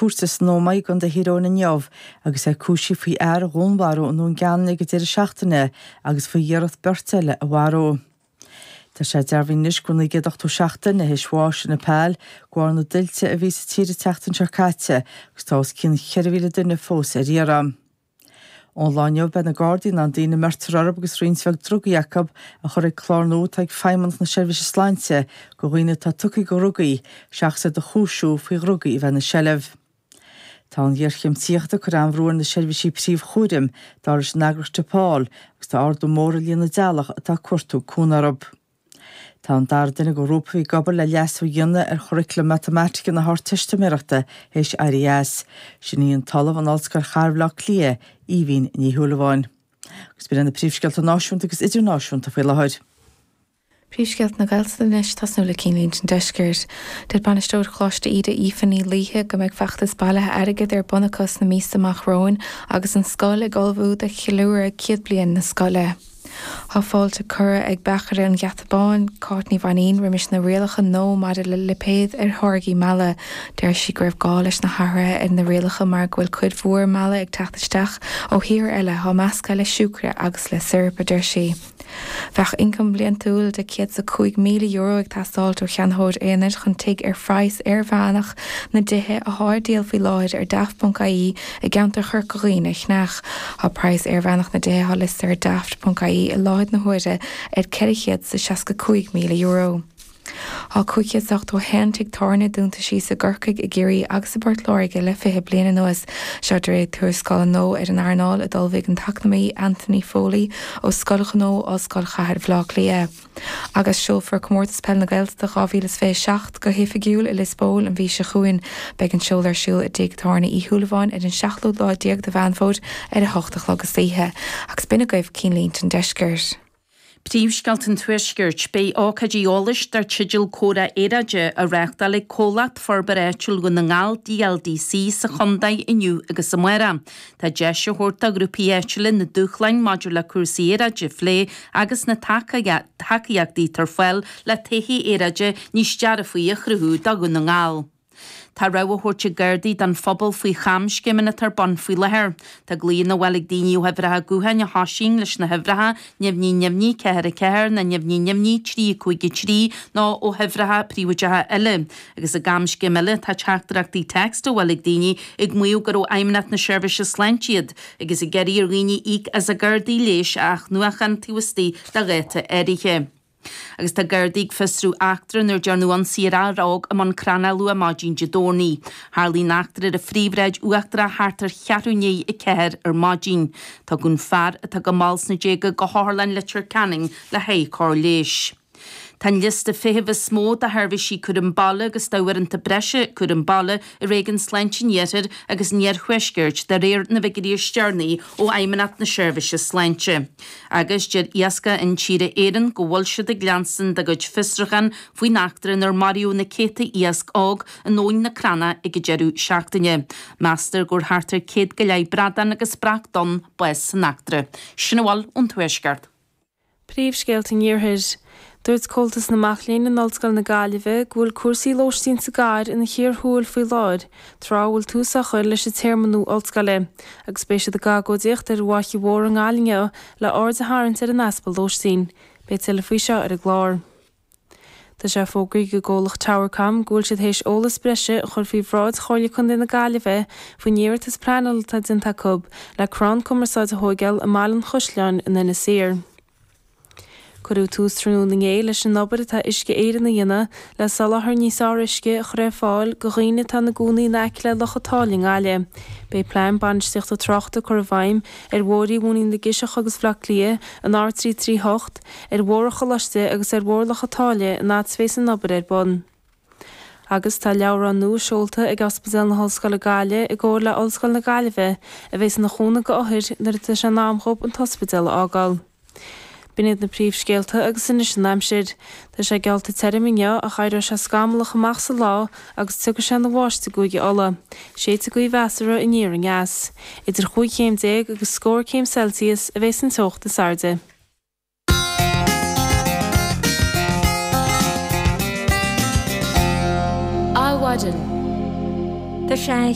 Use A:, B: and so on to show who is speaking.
A: cúirte san Ómaigh i gContae Thír Eoghain inniu agus é cúisithe faoi fhear a dhúnmharú i nDún Geanainn ag an deireadh seachtaine agus faoi iarracht beirt eile a mharú. Tá sé dearbhaithe anois go bhfuil 987 duine théis bháis i Nepal de bharr na dtuilte a bhí sa tír an tseachtain seo caite agus tá os cionn 4,000 duine fós ar iarraidh. Ón lá inniu beidh na Gardaí in ann daoine a mbeirtear orthu agus roinnt bheag drugaí acu a chur ag clár nua atá ag Feidhmeannacht na Seirbhíse Sláinte do dhaoine atá tugtha do dhrugaí seachas iad a chúisiú faoi dhrugaí a bheith ina seilbh. Tá an ghéarchéim tithíochta ag cur an-bhrú ar na seirbhísí príomhchúraim, dar leis an eagraíocht Depaul, agus tá ardú mór ar líon na dteaghlach atá ag cuartú cúnamh orthu. Tá an dara duine de ghrúpa a bhí ag obair le leasú a dhéanamh ar churaclam matamaitice na hArdteistiméireachta théis éirí as. Sin í an tOllamh in Ollscoil Chathair Bhaile Átha Cliath, Aoibhín Ní Shúilleabháin. Agus b'in iad na príomhscéalta náisiúnta agus idirnáisiúnta faoi láthair.
B: Príomhscéalta na Gaeltachta anois, tosnú le Cinnlínte an Deiscirt. Deir Bainisteoir Choláiste Íde Aoife Ní Laoithe go mbeidh feachtas bailithe airgid ar bun acu sna míosa amach romhainn agus an scoil ag ullmhú do cheiliúradh 100 bliain na scoile. Tá fáilte curtha ag beachaire an Gheata Báin, Cáit Ní Mhainín, roimis na rialacha nua maidir le lipéad ar tháirgí meala. Deir sí go raibh gá leis na hathruithe ar na rialacha mar go bhfuil cuid mhór meala ag teacht isteach ó thíortha eile thá measctha le siúcra agus le siorap, a deir sí. Bheadh ioncam bliantúil de €105,000 ag teastáilt ó cheannaitheoir aonair chun tigh ar phraghas airmheánach na dtithe athá ar díol faoi láthair ar Daft.ie i gceantar Chorca Dhuibhne a cheannach. Tá praghas airmheánach na dtithe atá liostaithe ar Daft.ie i láthair na huaire ar €465,000. Tá 581 tigh tábhairne dúnta síos i gCorcaigh, i gCiarraí agus i bPort Láirge le 20 bliain anuas. Seo de réir tuarascála nua ar an earnáil a d'ullmhaigh an t-eacnamaí Anthony Foley ó Scoil Ghnó Ollscoil Chathair Bhaile Átha Cliath. Agus seolfar Comórtas Peile na Gaeltachta 2027 go hoifigiúil i Lios Póil an mhí seo chugainn. Beidh an seoladh ar siúl i dTigh Tábhairne Uí Shúilleabháin ar an seachtú lá déag de Mheán Fómhair ar a hocht a chlog istoíche. Agus b'in agaibh Cinnlínte an Deiscirt.
C: Príomhscéalta an Tuaiscirt, Beidh ócáidí eolais dar teideal Comhrá Aeráide á reáchtáil ag Comhlacht Forbartha Áitiúil Dhún na nGall, DLDC, sa chontae inniu agus amárach. Tá deis á thabhairt do ghrúpaí áitiúla na dúshláin maidir le cúrsaí aeráide a phlé agus na tacaíochtaí atá ar fáil le todhchaí aeráide níos dearfaí a chruthú do Dhún na nGall. Tá rabhadh á thabhairt ag Gardaí don phobal faoi chamscéimeanna atá ar bun faoi láthair. Tá glaonna á bhfáil ag daoine ó huimhreacha gutháin a thosaíonn leis na huimhreacha, neamhní neamhní 4 4 nó neamhní neamhní 3 5 3 nó ó huimhreacha príobháideacha eile. Agus i gcamscéim eile, tá teachtaireachtaí text á bhfáil ag daoine ag maíomh gur ó Fheidhmeannacht na Seirbhíse Sláinte iad, agus ag iarraidh ar dhaoine íoc as a gcártaí leighis a athnuachan taobh istigh de dháta áirithe. Agus tá Gardaí ag fiosrú eachtra inar dearnadh ionsaí ar fhear óg i mbun Crannach luath maidin Dé Domhnaigh. Tharlaigh an eachtra ar an Phríomhshráid Uachtarach thart ar cheathrú i ndiaidh 4 ar maidin. Tugadh an fear, atá go mall sna déaga, go hOtharlann Leitir Ceanainn le haghaidh cóir leighis. Tá an liosta feithimh is mó do sheirbhísí cúram baile agus d'uaireanta breise cúram baile i Réigiún Sláinte an Iarthair agus an Iarthuaiscirt de réir na bhfigiúirí is deireanaí ó Fheidhmeannacht na Seirbhíse Sláinte. Agus deir Iascach Intíre Éireann go bhfuil siad ag leanstan dá gcuid fiosrúchán faoin eachtra inar maraíodh na céadta iasc óg in Abhainn na Crannach ag an deireadh seachtaine. Meastar go bhfuair thart ar 100 go leith bradán agus breac donn bás san eachtra. Sin a bhfuil ón Tuaisceart.
D: Príomhscéalta an Iarthair. Dúirt Comhaltas na Mac Léinn in Ollscoil na Gaillimhe go bhfuil cúrsaí lóistín sa gcathair ina chíor thuathail faoi láthair, tráth a bhfuil tús á chur leis an téarma nua ollscoile, agus beidh siad ag agóidíocht ar an bhFaiche Mhór i nGaillimh inniu le aird a tharraingt ar an easpa lóistín. Beidh tuilleadh faoi seo ar an gclár. Tá sé fógraithe ag an gcomhlacht Towercom go bhfuil siad théis eolas breise a chur faoi bhráid Chomhairle Contae na Gaillimhe faoin iarratas pleanála atá déanta acu le crann cumarsáide a thóigeáil i mBaile an Chaisleáin in Inis Oírr. Cuireadh tús tráthnóna inné leis an obair atá Uisce Éireann a dhéanamh le soláthar níos fearr uisce a chur ar fáil do dhaoine atá ina gcónaí in aice le Loch an tSáile i nGaillimh. Beidh plean bainistíochta tráchta curtha i bhfeidhm ar Bhóithre Mhúinín na gCiseach agus Bhaile Átha Cliath, an R338, ar Bhóthar an Choláiste agus ar Bhóthar Loch an tSáile an fhad is a bheas an obair ar bun. Agus tá leabhrán nua seolta ag Ospidéal na hOllscoile Gaillimh i gcomhar le Ollscoil na Gaillimhe a bheas ina chúnamh go othair nuair atá sé in am dhóibh an t-ospidéal a fhágáil. B'in iad na príomhscéalta agus anois an aimsir. Tá sé geallta tirim inniu ach éireoidh sé scamallach amach sa lá agus tiocfaidh sé ina bháisteach i gCúige Uladh. Séidfidh gaoth mheasartha aniar aneas. Idir chúig chéim déag agus scór céim Celsius a bheas an teocht is airde.
E: Adhmhaidin. Tá sé.